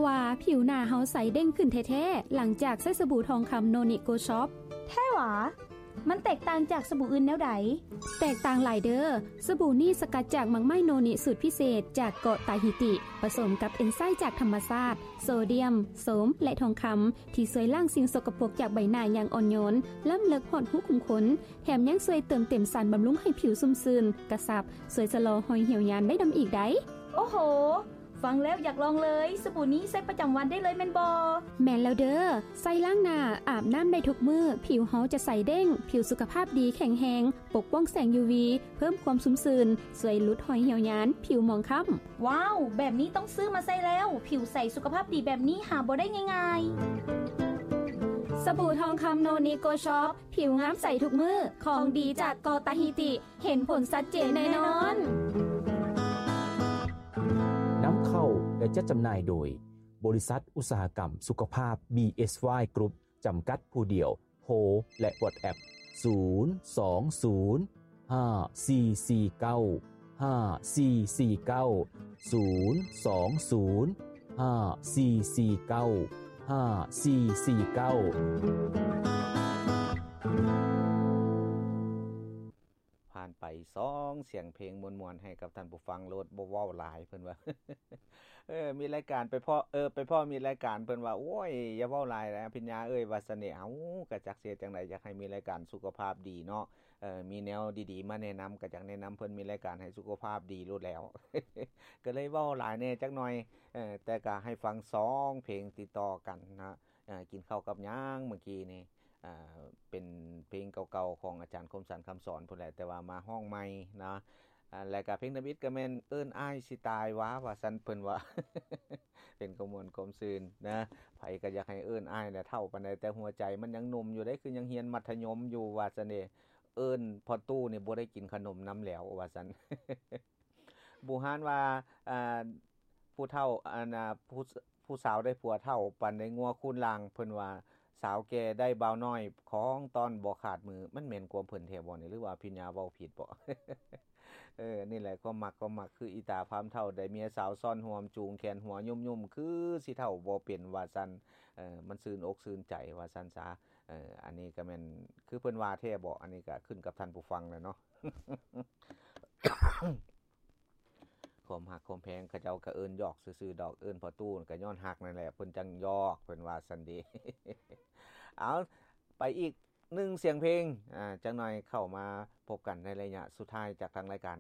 ວ່າຜິວໜ້າເຮົາໃສເດັ່ງຂຶ້ນແທ້ໆ ຫຼັງຈາກໃຊ້ສະບູທອງຄຳໂນນິໂກຊອບ. ແທ້ຫວາ? ມັນແຕກຕ່າງຈາກສະບູອື່ນແນວໃດ? ແຕກຕ່າງຫຼາຍເດີ້. ສະບູນີ້ສະກັດຈາກໝາກໄມ້ໂນນິສູດພິເສດຈາກເກາະຕາຮີຕິ ປະສົມກັບເອນໄຊຈາກທຳມະຊາດ, ໂຊດຽມ, ໂສມ ແລະ ທອງຄຳ ທີ່ຊ່ວຍລ້າງສິ່ງສົກກະປົກຈາກໃບໜ້າຢ່າງອ່ອນໂຍນ, ລ້ຳເລິກຮອດຮູຂຸມຂົນ, ແຖມຍັງຊ່ວຍເຕີມເຕັມສານບຳລຸງໃຫ້ຜິວຊຸ່ມຊື່ນ, ກະຊັບ, ຊ່ວຍຊະລໍຮອຍຫ່ຽວຍານໄດ້ນຳອີກໃດ໋. ໂອ້ໂຫ! ຟັງແລ້ວຢາກລອງເລີຍ. ສະບູນີ້ໃຊ້ປະຈຳວັນໄດ້ເລີຍແມ່ນບໍ່? ແມ່ນແລ້ວເດີ້. ໃຊ້ລ້າງໜ້າ, ອາບນ້ຳໄດ້ທຸກມື້, ຜິວເຮົາຈະໃສເດັ່ງ, ຜິວສຸຂະພາບດີ, ແຂງແຮງ, ປົກປ້ອງແສງຢູວີ, ເພີ່ມຄວາມຊຸ່ມຊື່ນ, ຊ່ວຍຫຼຸດຮອຍຫ່ຽວຍານ, ຜິວໝອງຄ້ຳ. ວ້າວ! ແບບນີ້ຕ້ອງຊື້ມາໃຊ້ແລ້ວ. ຜິວໃສສຸຂະພາບດີແບບນີ້ຫາບໍ່ໄດ້ງ່າຍໆ. ສະບູທອງຄຳໂນນິໂກຊອບ, ຜິວງາມໃສທຸກມື້, ຂອງດີຈາກເກາະຕາຮີຕິ. ເຫັນຜົນຊັດເຈນແນ່ນອນ. ນຳເຂົ້າ ແລະ ຈັດຈຳໜ່າຍໂດຍ ບໍລິສັດອຸດສາຫະກຳສຸຂະພາບ ບີເອສວາຍ ກຣຸບ ຈຳກັດຜູ້ດຽວ. ໂທ ແລະ WhatsApp ສູນສອງສູນ ຫ້າສີ່ສີ່ເກົ້າ ຫ້າສີ່ສີ່ເກົ້າ ສູນສອງສູນ ຫ້າສີ່ສີ່ເກົ້າ ຫ້າສີ່ສີ່ເກົ້າ. ຜ່ານໄປສອງສຽງເພງມ່ວນໆ ໃຫ້ກັບທ່ານຜູ້ຟັງໂລດ, ບໍ່ເວົ້າຫຼາຍ ເພິ່ນວ່າ. ເອີ ມີລາຍການໄປພໍ້ ເອີ ໄປພໍ້ມີລາຍການ ເພິ່ນວ່າ ໂອ້ຍ ຢ່າເວົ້າຫຼາຍແຫຼະ ພິນຍາເອີຍ ວ່າຊັ້ນເດ. ເຮົາກະຈັກຊິເຮັດຈັ່ງໃດ ຢາກໃຫ້ມີລາຍການສຸຂະພາບດີເນາະ. ເອີ ມີແນວດີໆມາແນະນຳ ກະຢາກແນະນຳເພິ່ນ ມີລາຍການໃຫ້ສຸຂະພາບດີໂລດແລ້ວ. ກະເລີຍເວົ້າຫຼາຍແດ່ຈັກໜ່ອຍ. ເອີ ແຕ່ກະໃຫ້ຟັງສອງເພງຕິດຕໍ່ກັນນະ. ເອີ ກິນເຂົ້າກັບຫຍັງເມື່ອກີ້ນີ້? ອ່າ ເປັນເພງເກົ່າໆຂອງອາຈານຄົມສັນ ຄຳສອນ ພຸ້ນແຫຼະ, ແຕ່ວ່າມາຮ້ອງໃໝ່ເນາະ. ອ່າ ແລ້ວກະເພງທຳອິດກະແມ່ນເອີ້ນອ້າຍຊິຕາຍຫວາ ວ່າຊັ້ນເພິ່ນວ່າ. ເປັນຄວາມມ່ວນຄວາມຊື່ນນະ, ໃຜກະຢາກໃຫ້ເອີ້ນອ້າຍແຫຼະ. ເຖົ້າປານໃດແຕ່ຫົວໃຈມັນຍັງໜຸ່ມຢູ່ເດ້, ຄືຍັງຮຽນມັດທະຍົມຢູ່ ວ່າຊັ້ນເດ. ເອີ້ນພໍ່ຕູ້ນີ້ບໍ່ໄດ້ກິນຂະໜົມນຳແລ້ວ ວ່າຊັ້ນ. ບູຮານວ່າ ອ່າ ຜູ້ເຖົ້າ ອັນນ່າ ຜູ້ ຜູ້ສາວໄດ້ຜົວເຖົ້າ ປານໄດ້ງົວຄູນລ່າງ. ເພິ່ນວ່າ ສາວແກ່ໄດ້ບ່າວນ້ອຍ ຂອງຕ້ອນບໍ່ຂາດມື. ມັນແມ່ນຄວາມເພິ່ນແທ້ບໍ່ນີ້ ຫຼືວ່າພິນຍາເວົ້າຜິດບໍ່? ເອີ ນີ້ແຫຼະ ຄວາມມັກ ຄວາມມັກ ຄືອີຕາພາມເຖົ້າ ໄດ້ເມຍສາວຊ້ອນຮ່ວມ ຈູງແຂນຫົວຫຍຸ້ມໆ ຄືຊິເຖົ້າບໍ່ເປັນ ວ່າຊັ້ນ. ເອີ ມັນຊື່ນອົກຊື່ນໃຈ ວ່າຊັ້ນຊະ. ເອີ ອັນນີ້ກະແມ່ນ ຄືເພິ່ນວ່າແທ້ບໍ່? ອັນນີ້ກະຂຶ້ນກັບທ່ານຜູ້ຟັງແຫຼະເນາະ. ຄວາມຮັກຄວາມແພງ ເຂົາເຈົ້າກະເອີ້ນຢອກຊື່ໆດອກ, ເອີ້ນພໍ່ຕູ້ກະຍ້ອນຮັກນັ້ນແຫຼະ ເພິ່ນຈັ່ງຢອກ ເພິ່ນວ່າຊັ້ນເດ. ເອົາ ໄປອີກໜຶ່ງສຽງເພງ ອ່າ ຈັກໜ່ອຍເຂົ້າມາພົບກັນໃນໄລຍະສຸດທ້າຍຈາກທາງລາຍການ.